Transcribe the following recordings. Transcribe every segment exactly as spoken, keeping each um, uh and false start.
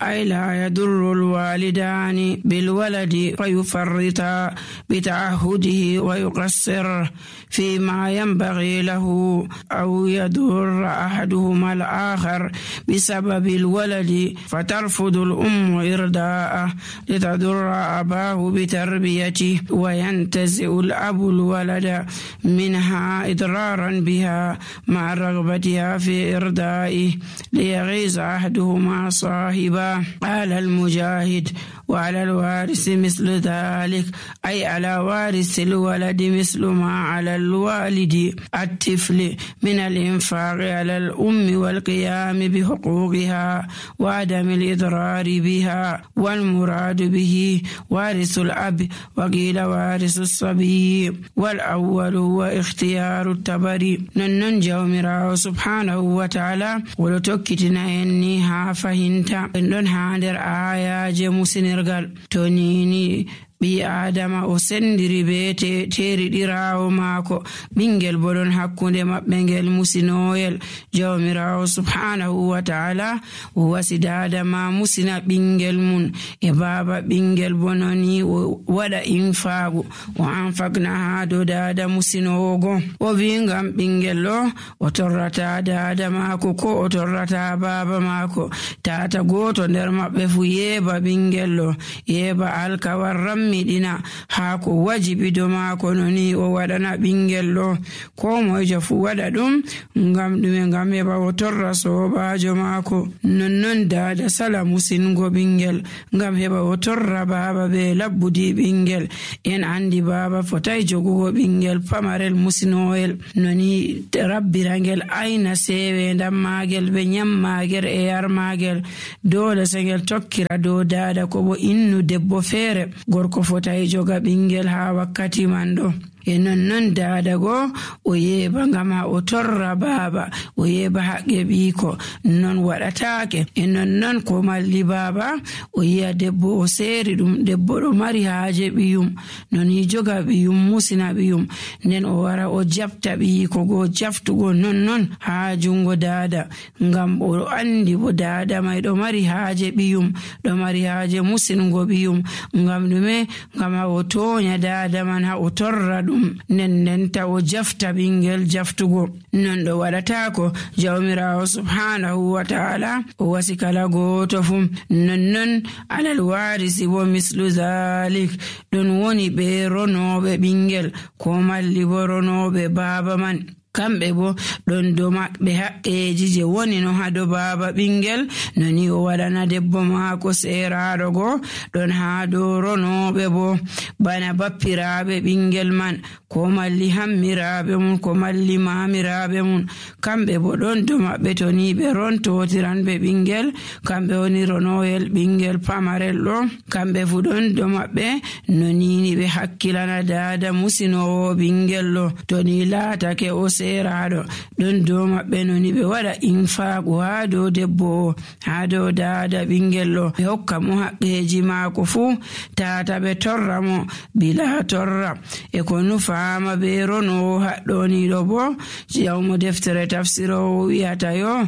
أي لا يضر الوالدان بالولد فيفرطا بتعهده ويقصر فيما ينبغي له، أو يضر أحدهما الآخر بسبب الولد فترفض الأم إرضاءه لتضر أباه بتربيته، وينتزع الأب الولد منها إضرارا بها مع رغبتها في إرضائه ليغيظ أحدهما صاحبه. قال المجاهد: وعلى الوارث مثل ذلك، أي على وارث الولد مثل ما على الوالد الطفل من الإنفاق على الأم والقيام بحقوقها وعدم الإضرار بها، والمراد به وارث الأب، وقيل وارث الصبي، والأول هو اختيار التبري. ننن جومراو سبحانه وتعالى ولتوكتنا إني ها فهمت إنن هادر آية جمسنرغل تونيني ɓi adama o sendiri be teriɗirawo maako, ɓingel bo ɗon hakkunde maɓɓe ngel musinoyel. jawmirawo subhanahu wa ta'ala o wasi dada ma musina ɓingel mun e baba ɓingel bo noni o waɗa infaagu o anfakna ha do dada musinogo. o wi ngam ɓingel ɗo o torrata dada maako ko o torrata baba maako. tata goto nder maɓɓe fu yeba ɓingel ɗo, yeba alkawar ram miɗina haa ko wajibi do maako noni o waɗana ɓingel ɗo. ko moyjo fu waɗa ɗum ngam ɗume? ngam heɓa o torra sobajo maako. nonnon dada sala musingo ɓingel ngam heɓa o torra baba be labbudi ɓingel. en andi baba fotai jogugo ɓingel pamarel musinoyel, noni rabbirangel aina sewe ndam magel be nyam magel e yar magel. dole sengel tokkira do dada ko bo innu debbo feere. gorko fotai joga ɓingel ha wakkati man ɗo. e nonnon dada go o yeba ngam ha o torra baba, o yeba haqqe ɓiiko, non waɗatake. e nonnon ko malli baba o yiya debbo o seeri ɗum, debbo ɗo mari haaje ɓiyum, non hi joga ɓiyum musina ɓiyum, nden o wara o jabta ɓiiko go jaftugo nonnon ha jungo dada, ngam o andi bo dada mai ɗo mari haaje ɓiyum, ɗo mari haaje musingo ɓiyum. ngam ɗume? ngam ha o tonya dada man ha o torra ɗum, nden ndenta o jafta ɓingel jaftugo. non ɗo waɗatako jawmirawo subhanahu wa ta'ala o wasi kala goto fu. nonnon alal warisi bo mislu zalik, ɗon woni ɓe ronoɓe ɓingel ko malli bo ronoɓe baba man, kamɓe bo ɗon do maɓɓe haqqeji je woni no ha do baba ɓingel, noni o waɗana debbo maako seeraɗo go. ɗon ha do ronoɓe bo bana bappiraɓe ɓingel man, ko malli hammiraɓe mun, ko malli mamiraɓe mun, kamɓe bo ɗon do maɓɓe to ni ɓe rontotiran ɓe ɓingel, kamɓe woni ronoyel ɓingel pamarel ɗo. kamɓe fu ɗon do maɓɓe no nini ɓe hakkilana dada musinowo ɓingel ɗo. to ni laatake o seeraɗo, ɗon do maɓɓe noni ɓe waɗa infaagu ha dow debbo, ha dow dada ɓingel ɗo, ɓe hokka mo haqqeji maako fu, tata ɓe torra mo bila torra. e ko nufaama be ronowo haɗɗoniɗo bo jawmo deftere tafsirowo wiyata yo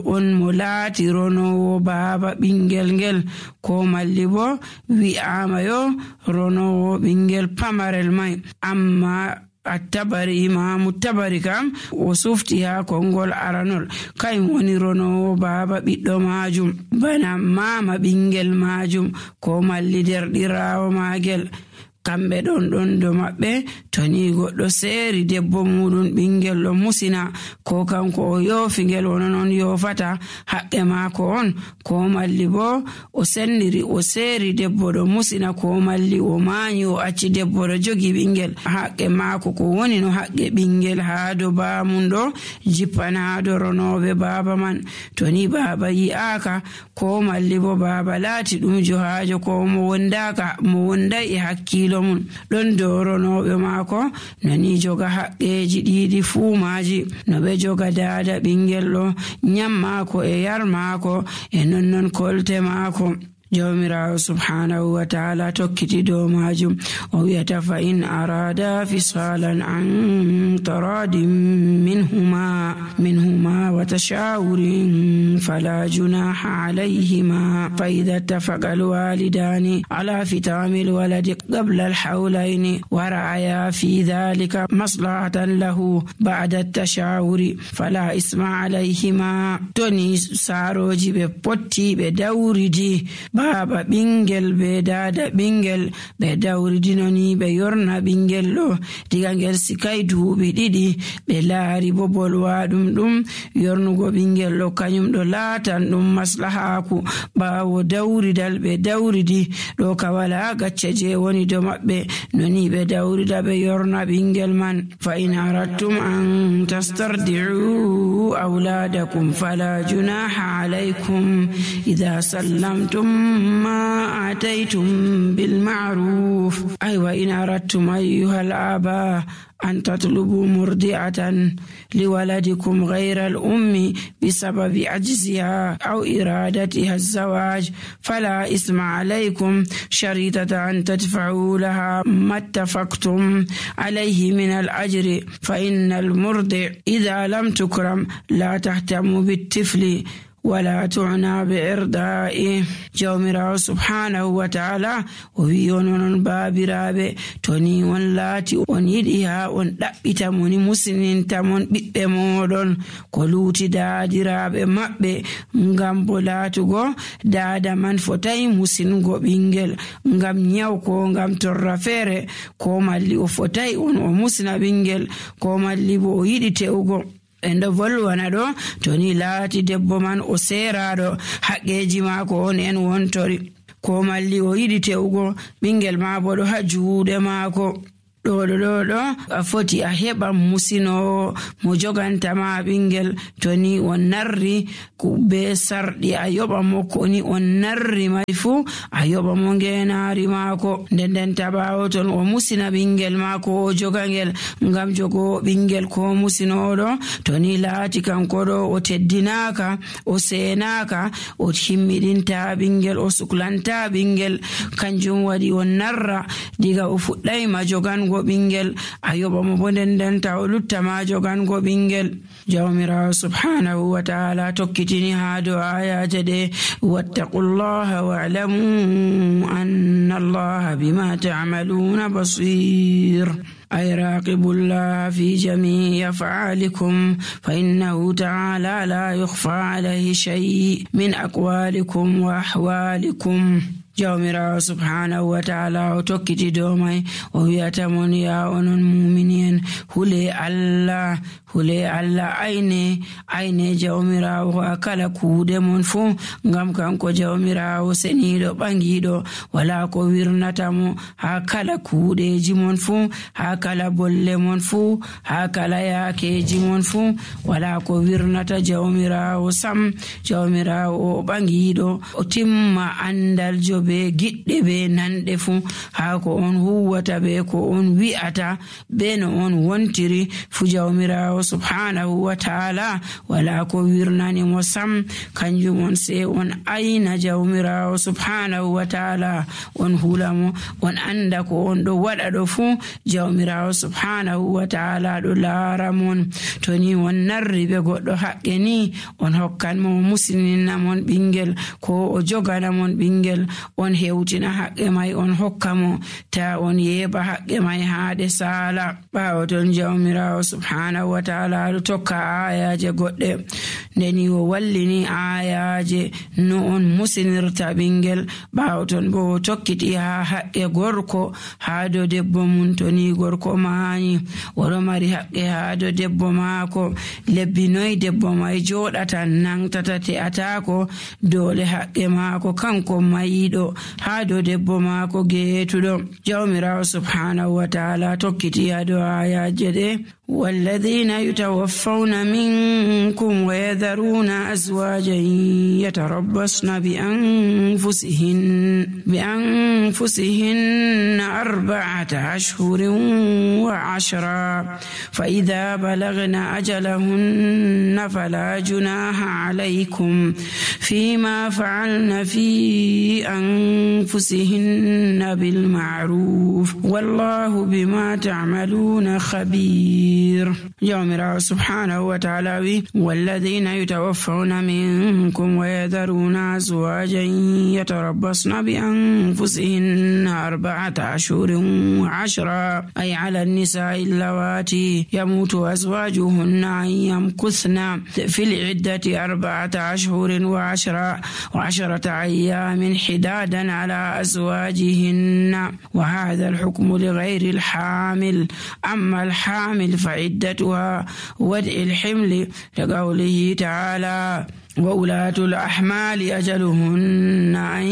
on mo laati ronowo baba ɓingel ngel, ko malli bo wi'ama yo ronowo ɓingel pamarel mai. amma attabari imamu tabari kam o sufti ha kongol aranol, kayum woni ronowo baba ɓiɗɗo majum, bana mama ɓingel majum, ko malli derɗirawo magel. kamɓe ɗon ɗon do maɓɓe to ni goɗɗo seeri debbo muɗum ɓingel ɗo musina, ko kanko o yoofingel wono non yoofata haqqe maako on, ko malli bo o sendiri o seeri debbo ɗo musina, ko malli o maanyi o acci debbo ɗo jogi ɓingel, haqqe maako ko woni no haqqe ɓingel ha do bamum ɗo jippan ha do ronoɓe baba man. to ni baba yi'aka, ko malli bo baba laati ɗum johajo, ko mo wondaka mo wondai e hakkilo mun, ɗon doronoɓe maako nani joga haqqeji ɗiɗi fuu maji, no ɓe joga dada ɓingel ɗo, nyam maako e yar maako e nonnon kolte maako. jawmirawo subhanahu wa ta'ala tokkiti dow majum o wiyata fa in arada fisalan an taradin minhuma minhuma wa tashawurin fala junaha alayhima fa idha ittafaqa alwalidani ala fitami alwaladi qabla alhawlaini wa ra'aya fi dhalika maslahatan lahu ba'da at-tashawuri fala isma alayhima. Toni saroji be potti be dawridi baba bingel be dada bingel be dawridinoni be yorna bingel do diga ngel sikai duubi didi be laari bobol wadum dum yornugo bingel do kanyum do latan dum maslahaku bawo dawridal be dawridi do ka wala gacce je woni do mabbe noni be dawrida be yorna bingel man. Fa in aradtum an tastardi'u awladakum fala junaha alaykum idha sallamtum ma ataytum bil ma'ruf. Ay wa in aradtum ayyuhal aba أن تطلبوا مرضعة لولدكم غير الأم بسبب عجزها أو إرادتها الزواج فلا إثم عليكم شريطة أن تدفعوا لها ما اتفقتم عليه من الأجر فإن المرضع إذا لم تكرم لا تهتم بالطفل ولا تعنى بإرضائه. جومراو سبحانه وتعالى ويونون بابرابي توني ونلاتي ونيدها وندبتا موني مسنين تامون بيبمودون كولوتي دادرابي مابي ngambolaatugo dada man fotai musingo bingel ngam nyawko ngam torrafere ko malli o fotai on o musina bingel ko malli bo yidi tewgo endo volwana do toni laati debbo man o seeraado haqqeji maako on en wontori ko malli o yidi tewgo bingel ma bo do ha juude maako do do do do a foti a heba musino mo joganta ma bingel toni on narri ku be sardi a yoba mo ko ni on narri mai fu a yoba mo ngenaari maako den tabawo ton o musina bingel maako o jogangel ngam jogo bingel ko musino do toni laati kanko do o teddinaka o seenaka o himmidinta bingel o suklanta bingel kanjum wadi on narra diga o fuddai ma jogan bingel ayoba mo bonden den taw lutta ma jogan go bingel. Jawmira subhanahu wa ta'ala tokkitini ha do ayaje de wattaqullaha wa'lamu anna allaha bima ta'maluna basir. أي راقبوا الله في جميع أفعالكم فإنه تعالى لا يخفى عليه شيء من أقوالكم وأحوالكم. Jawmirawo subhanahu wa ta'ala o tokkiti dow mai o wiyata mon ya onon mu'minin hule Allah hule Allah aine aine jawmirawo akala kuude mon fu ngam kanko jawmirawo senido bangido wala ko wirnata mo ha kala kuudeji mon fu ha kala bolle mon fu ha kala yakeji mon fu wala ko wirnata jawmirawo sam. Jawmirawo bangido o timma andal jo be gidde be nande fu ha ko on huwata be ko on wi'ata be no on wontiri fu jawmirawo subhanahu wa ta'ala wala ko wirnani mo sam. Kanjum on se on ayna jawmirawo subhanahu wa ta'ala on hulamo on anda ko on do wada do fu jawmirawo subhanahu wa ta'ala do laramon toni on narri be goddo haqqe ni on hokkan mo muslimina mon bingel ko o jogana mon bingel on hewtina haqqe mai on hokkamo ta on yeba haqqe mai haade sala. Bawo ton jawmirawo subhanahu wa ta'ala do tokka ayaje godde ndeni o wallini ayaje no on musinirta bingel. Bawo ton bo tokkiti ha haqqe gorko ha do debbo mun toni gorko maani woro mari haqqe ha do debbo maako lebbi noy debbo mai jodata nangtata te atako dole haqqe maako kanko mayido ha do debbo maako geetudo. Jawmirawo subhanahu wa ta'ala tokkiti ha do ayaje de والذين يتوفون منكم ويذرون أزواجا يتربصن بأنفسهن بأنفسهن أربعة أشهر وعشرا فإذا بلغن أجلهن فلا جناح عليكم فيما فعلن في أنفسهن بالمعروف والله بما تعملون خبير. يوم سبحانه وتعالى والذين يتوفون منكم ويذرون أزواجا يتربصن بأنفسهن أربعة أشهر وعشرا أي على النساء اللواتي يموت أزواجهن أن يمكثن في العدة أربعة أشهر وعشرة وعشرة أيام حدادا على أزواجهن وهذا الحكم لغير الحامل. أما الحامل فعدتها ودع الحمل لقوله تعالى وأولاة الأحمال أجلهن أن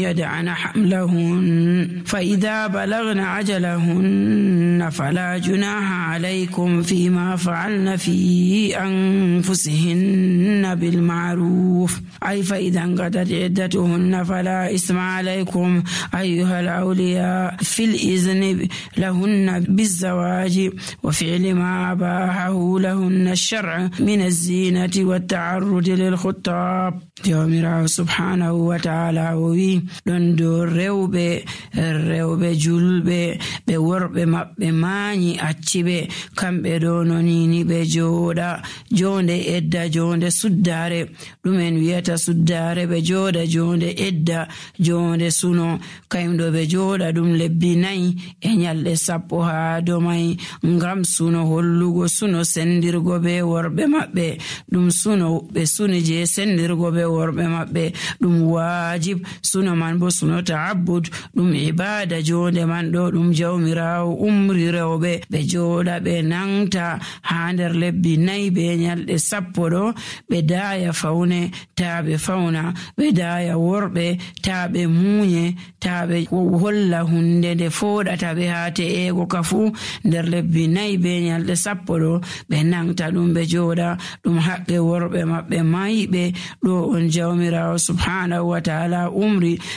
يدعن حملهن فإذا بلغن أجلهن فلا جناح عليكم فيما فعلن في أنفسهن بالمعروف أي فإذا انقضت عدتهن فلا إثم عليكم أيها الأولياء في الإذن لهن بالزواج وفعل ما أباحه لهن الشرع من الزينة والتعرض للخطاب. Jawmirawo subhanahu wa ta'ala o wi ɗon dow rewɓe rewɓe julɓe ɓe worɓe maɓɓe mañi acciɓe kamɓe ɗo nonini ɓe jooɗa jonde edda jonde suddare ɗumen wiyata suddare ɓe jooɗa jonde edda jonde suno kayumɗo ɓe jooɗa ɗum lebbi nayi e nyalɗe sappo ha domai ngam suno hollugo suno sendirgo be worɓe maɓɓe ɗum suno ɓe suni je sendirgo be worɓe maɓɓe ɗum wajib suno man bo suno ta'abbud ɗum ibada jonde man ɗo ɗum jawmirawo umri rewɓe ɓe jooɗa ɓe nangta ha nder lebbi nayi be nyalɗe sappo ɗo ɓe daya fawne ta ɓe fawna ɓe daya worɓe ta ɓe muñe ta ɓe holla hunde nde foɗata ɓe ha te'ego ka fu nder lebbi nayi be nyalɗe sappo ɗo ɓe nangta ɗum ɓe jooɗa ɗum haqqe worɓe maɓɓe mayiɓe ɗo on jawmirawo subhanahu wa ta'ala umri